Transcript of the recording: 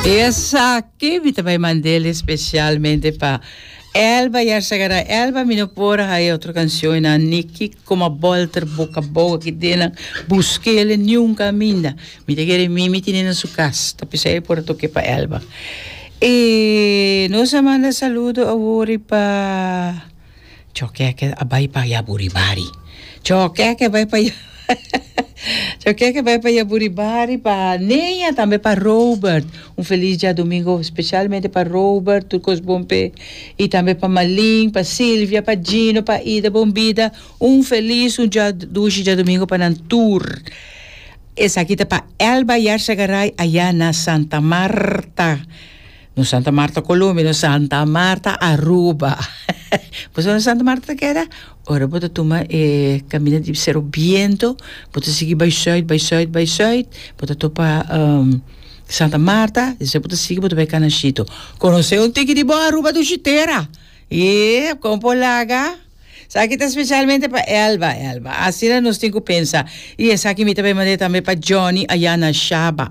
Esaki mi ta bai mand'el especialmente pa Elba Yarzagaray. Elba mi no por a haya otro cancionnan ni kico ma bolter boca abou aki den nan busk'el niun caminda. Mi ta kere Mimi tine na su cas ta p'esei e por a toke pa Elba. E nos a manda saludo awor pa. Chokeke a bai pa Yaburibari. Chokeke a bai pa Chokeke a bai pa Yaburibari pa Neña tambe pa Robert. Un felis djadumingo specialmente pa Robert, tur kos bon p'e. I tambe pa Malin, pa Silvia, pa Gino, pa Ida, bon bida. Un felis un dja dushi djadumingo pa nan tur. Esaki ta pa Elba Yarzagaray aya na Santa Marta. No Santa Marta Colombia, no Santa Marta Aruba. Bo sa unda Santa Marta ta keda? Ora bo ta tuma e caminda di Cerro Biento, bo ta sigui bai zuid, bai zuid, bai zuid, bo ta topa Santa Marta, despues bo ta sigui bo ta bai Canashito. Conoce un tiki di bo Aruba dushi tera. Yep, con por laga? Esaki ta specialmente pa Elba, Elba. Asina nos tin cu pensa. Y esaki mi ta bai manda tambe pa Johnny aya na Shaba.